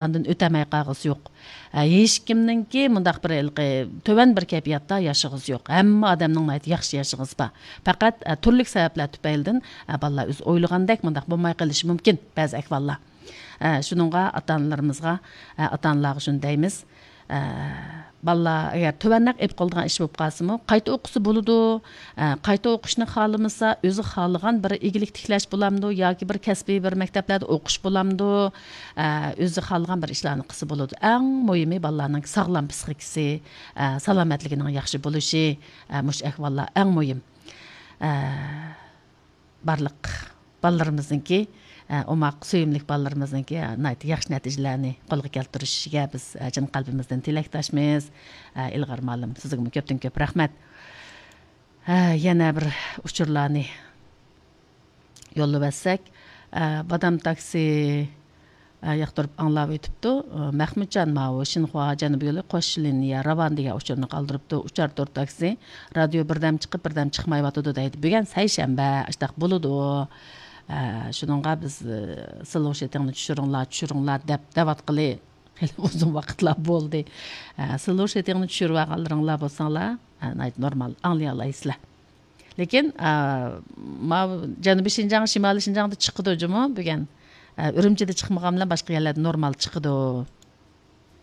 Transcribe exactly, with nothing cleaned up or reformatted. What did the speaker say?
андан өтөмөй калгыс жок. Эч кимнинки мындак бир төбөн бир кайфиятта жашыгыз жок. Hamma адамдын айт жакшы жашыгыз бар. Факат түрлүк себептер түпөйүлдөн балдар өз ойлогондек мындак болмой калышы мүмкүн бәзі аквалла. Шунунга ата-аналарыбызга, ата-аналарга шуну дейбиз. Балла эгер төбөннөк эп калдыган иш болуп калсымы, кайта окусы болуду, кайта окушну кааламаса, өзү каалаган бир игилик тиклеш боламды, яки бир кесби бир мектептерде окуш боламды, өзү каалаган бир ишларны кылса болуду. Эң мөһими балларның саглам психикасы, саламатлыгынын жакшы болушу, муш аквалла эң мөһим. Барлык балларыбыздыңки Омак сөйүмлүк балларыбыздыңки найт жакшы натыйжаларны колго келтиришиге биз жан калбымыздан тилекташмыз. Илгар маалым, сизге көптөн көп рахмат. Yana bir учурларны yollап атсак, Бадам такси яктырып аңлап өтүптү. Махмутжан мау Шинхуа жаныбы жолу кош линия Раван деген учурну калдырыпты. Учар тор такси радио бирдем чыгып, бирдем чыкмай атыды дейт. Бүгүн сайшембе аштак болуду. Шунунга биз сылыш этеңни түшүрүңлар, түшүрүңлар деп деп аткылы узун вакытлар болду. Сылыш этеңни түшүрүп алганларыңлар болсаңлар, нормал аңлай аласызлар. Лекин мау Жанубий Шинжаң, Шималий Шинжаңда чыкты жуму бүгүн. Үрүмчүдө чыкмаган менен башка жерлерде нормал чыкты.